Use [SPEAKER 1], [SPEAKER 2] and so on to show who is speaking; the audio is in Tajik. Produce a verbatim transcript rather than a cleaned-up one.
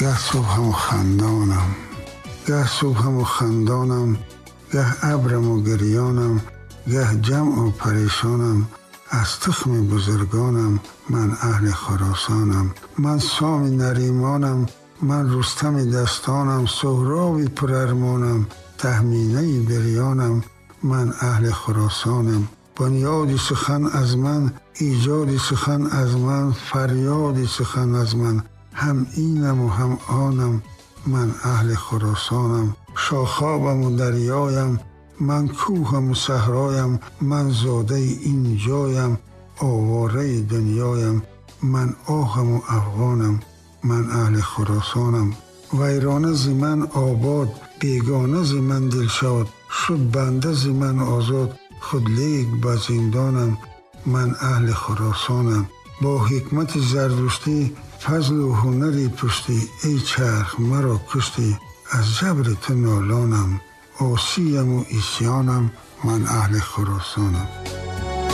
[SPEAKER 1] Гаҳ субҳаму хандонам, гаҳ субҳаму хандонам, гаҳ абраму гирёнам, гаҳ ҷамъу парешонам, аз тухми бузургонам, ман аҳли Хуросонам. Ман Соми Наримонам, ман Рустами дастонам, Суҳроби пурармонам, Таҳминаи бирёнам, ман аҳли Хуросонам. Бунёди сухан аз ман, эҷоди сухан аз ман, фарёди сухан аз ман, ҳам инам ва ҳам онам, ман аҳли Хуросонам. Шохобам ва дарёям, ман кӯҳам ва саҳроям, ман зодаи ин ҷоям, овораи дунёям, ман оҳам ва афғонам, ман аҳли Хуросонам. Вайрона зи ман обод, бегона зи ман дилшод, шуд банда зи ман озод, худ лек ба зиндонам, ман аҳли Хуросонам. Бо ҳикмати зардуштӣ, фазлу ҳунари пуштӣ, эй чарх маро куштӣ, аз ҷабри ту нолонам, осиям ва исёнам, ман аҳли Хуросонам.